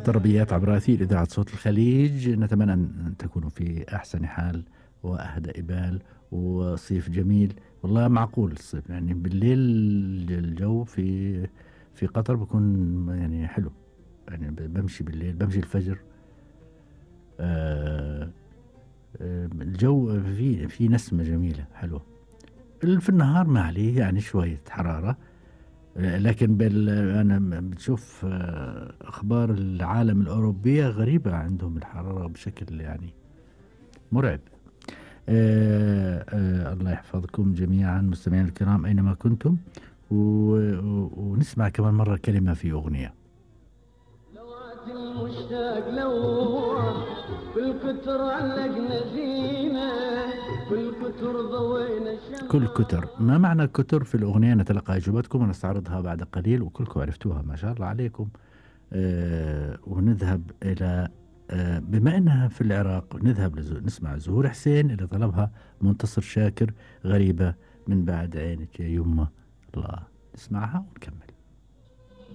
الطربيات عبر أثير إذاعة صوت الخليج. نتمنى أن تكونوا في أحسن حال وأهدأ بال وصيف جميل. والله معقول الصيف يعني بالليل الجو في قطر بيكون يعني حلو، يعني بمشي بالليل بمشي الفجر. الجو في نسمة جميلة حلوة. في النهار ما عليه يعني شوية حرارة، لكن أنا بتشوف أخبار العالم الأوروبية غريبة، عندهم الحرارة بشكل يعني مرعب. الله يحفظكم جميعا مستمعين الكرام أينما كنتم، ونسمع كمان مرة كلمة في أغنية. لوعة المشتاق لوح بالكتر علقنا زينة، بالكتر ضوينا الشمس. كل كتر، ما معنى كتر في الأغنية؟ نتلقى إجابتكم ونستعرضها بعد قليل، وكلكم عرفتوها ما شاء الله عليكم. ونذهب إلى بما أنها في العراق نذهب نسمع زهور حسين اللي طلبها منتصر شاكر، غريبة من بعد عينك يا يمه. الله، نسمعها ونكمل.